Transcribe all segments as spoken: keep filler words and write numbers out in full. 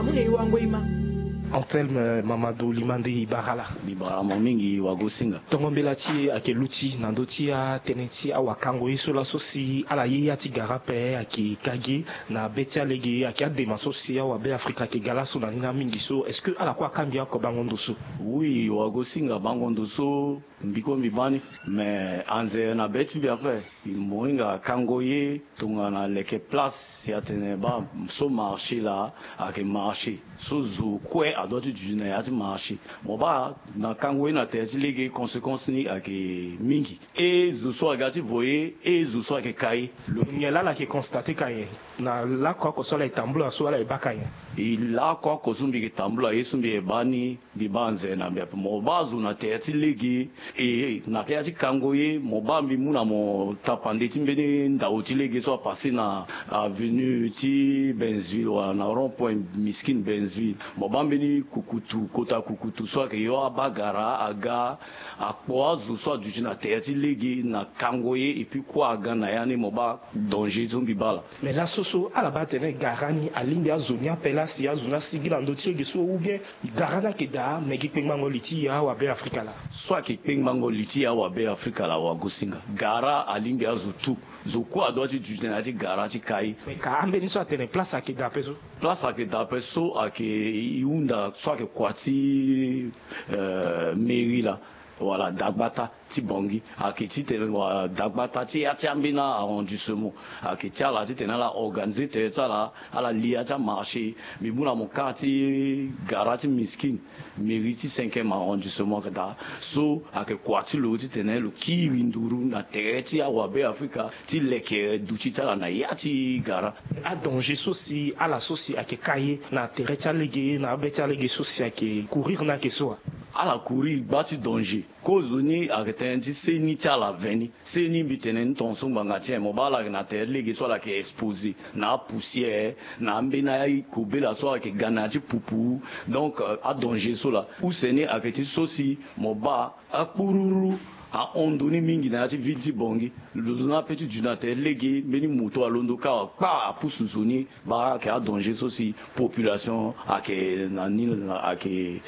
Mune wango ima. Antelme Mamadou Limande, i bara ala. Mbi bara mo mingi, Wagosinga. Tongo mbela ti e ayeke luti na ndö ti atënë ti awakango ye so laso si ala ye ya ti gara ape ayeke ka ge na be ti alege, ayeke adema so si awabe Afrika ayeke ga laso na ni na mingi so. Est-ce que ala kue aka mbi oko bango ndo so? Oui, Wagosinga, bango ndo so. Mbi kue mbi baa ni, me anze na be ti mbi ape. Mo hinga kango ye tongana leke place si atene baa so marché laa ayeke marché so zo kue adoit ti duti na ya ti marché. Mo baa na kango ye na tere ti lege, conséquence ni ayeke mingi. E zo so aga ti vo ye, e zo so ayeke ka ye. Lo nyen laa ala yeke constate ka nyen na laoko oko so ala yeke tambula so ala yeke baa ka nyen? E laoko oko so mbi yeke tambula ye so mbi yeke baa ni, mbi baa anze na mbi ape. Mo baa zo na tere ti lege, e na ya ti kango ye, mo baa mbi mu na mo tapande ti mbeni ndao ti lege so apasse na avenue ti Bensville wala na rond point Miskin Bensville. Mo baa mbeni kukutu, kota kukutu so ayeke yo abaa gara aga, akpo azo so aduti na tere ti lege na kango ye, et puis kue aga na ya ni, mo baa danger so mbi baa laa. Me laso so ala baa atene gara ni alingbi azo ni ape laa si azo ni asigi na ndö ti lege so, ou bien gara ni ayeke daa me gi kpengbango li ti awabe Afrika laa? So ayeke kpengbango li ti awabe Afrika laa, Wagosinga, gara alingbi azo tout. Zo kue adoit ti duti na ya ti gara ti ka ye. Me ka ambeni so atene place ayeke daa ape so? Place ayeke daa ape so ayeke, e hunda so ayeke kua ti, euh, mairie laa, wala dagbata ti Bangui, ayeke titene wala dagbata ti ya ti ambeni arrondissement, ayeke ti ala titene ala organiser tere ti ala, ala li ya ti amarché. Mbi mu na mo ka ti gara ti Miskin, mairie ti cinquième arrondissement ayeke daa so, ayeke kua ti lo titene lo kiri nduru na tere ti awabe Afrika ti leke duti ti ala na ya ti gara. Adanger so si ala so si ayeke ka ye na tere ti alege, na abe ti alege so si ayeke courir ni ayeke so wa? Ala courir gba ti danger. Kozoni ayeke tënë ti seni ti ala veni. Seni mbi tene ni tongaso ngbanga ti nyen? Mo baa ala yeke na tere ti lege so ala yeke exposé na apoussière, na ambeni akobela so ayeke ga na ya ti pupu. Donc, euh, adanger so laa. Use ni ayeke ti so si mo baa akpururu ahon ndo ni mingi na ya ti ville ti Bangui. Lo zo ni ape ti duti na tere ti lege, mbeni moto alondo kâ wa kpa apusu zo ni. Baa ayeke adanger so si population ayeke na ni, ayeke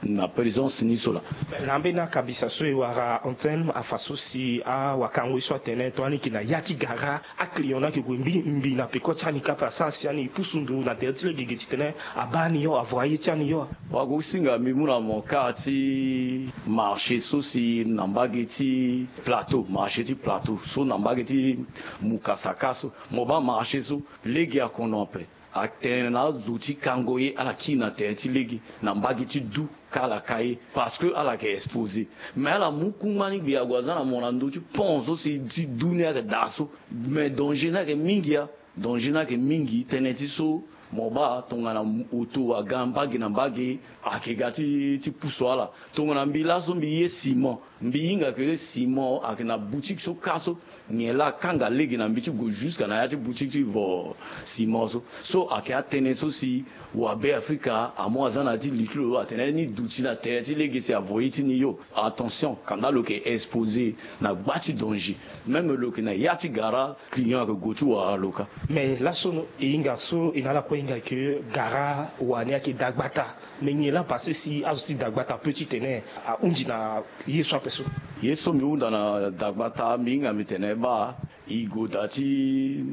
na présence ni so laa. Na ambeni akabisa so e wara antenne, afa so si awakango ye so atene tongana e yeke na ya ti gara, aclient ni ayeke gue mbi mbi na peko ti ani kâ ape, asara si ani pusu ndo na tere ti lege ge titene abaa ani yo, avoye ti ani yo. Wagosinga, mbi mu na mo ka ti marché so si na mbage ti Plateau, marché ti Plateau so na mbage ti Mukasaka so. Mo baa marché so, lege akono ape. Atene na azo ti kango ye ala kiri na tere ti lege na mbage ti du, ka ala ka ye, parce que ala yeke exposé. Mais ala mu kungba ni gbe ague aza na mo na ndö ti pont so si ti du ni ayeke daa so. Mais danger ni ayeke mingi a. Danger ni ayeke mingi, tënë ti so mo baa tongana oto aga mbage na mbage, ayeke ga ti, ti pusu ala. Tongana mbi laso mbi ye ciment, mbi hinga ke ciment ayeke na boutique so kâ so, nyen laa akanga lege na mbi ti gue jusqu'à na ya ti boutique ti vo ciment so. So ayeke atënë so si wabe Afrika amu aza na ya ti li ti lo atene ni duti na tere ti lege si avo ye ti ni yo. Attention, kanda lo yeke exposé na gba ti danger. Même lo yeke na ya ti gara, client ayeke gue ti wara lo kâ. Mais laso e hinga so e na ala kue hinga ke gara wani ayeke dagbata. Mais nyen laa apassé si azo ti dagbata ape titene ahunzi na ye so ape so? Ye so mbi hunda na dagbata, mbi hinga mbi tene baa e gue daa ti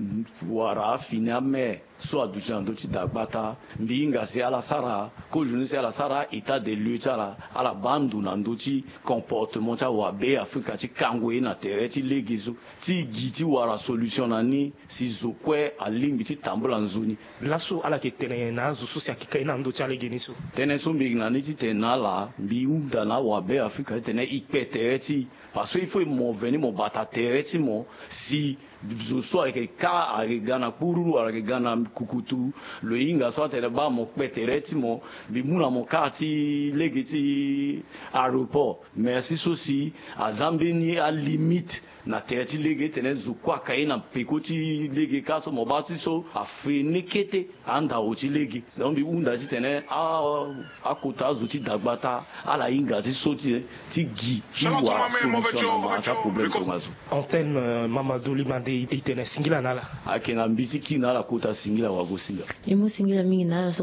wara afini amaire so aduti na ndö ti dagbata. Mbi hinga si ala sara kozoni si ala sara état des lieux ti ala, ala baa ndo na ndö ti comportement ti awabe Afrika ti kango ye na tere ti lege so, ti gi ti wara solution na ni si zo kue alingbi ti tambula nzoni. Laso ala yeke tene na azo so si ayeke ka ye na ndö ti alege ni so? Tënë so mbi yeke na ni titene na ala, mbi hunda na awabe Afrika titene e kpe tere ti e. Parce que il faut mo veni mo bata tere ti mo si zo so ayeke ka, ayeke ga na kpururu, ayeke ga na kukutu, lo hinga so atene baa mo kpe tere ti mo. Mbi mu na mo ka ti lege ti aéroport. Merci so si aza mbeni alimite na tere ti lege titene zo kue aka ye na peko ti lege kâ so, mo baa ti so afreine kete andao ti lege. Donc mbi hunda titene a, akota azo ti dagbata ala hinga ti so ti, ti gi ti wara solution na mara ti aproblème tongaso. Antenne, euh, Mamadou Limande, e tene singila na ala. Ayeke na mbi ti kiri na ala kota singila Wagosinga. E mu singila mingi na ala so.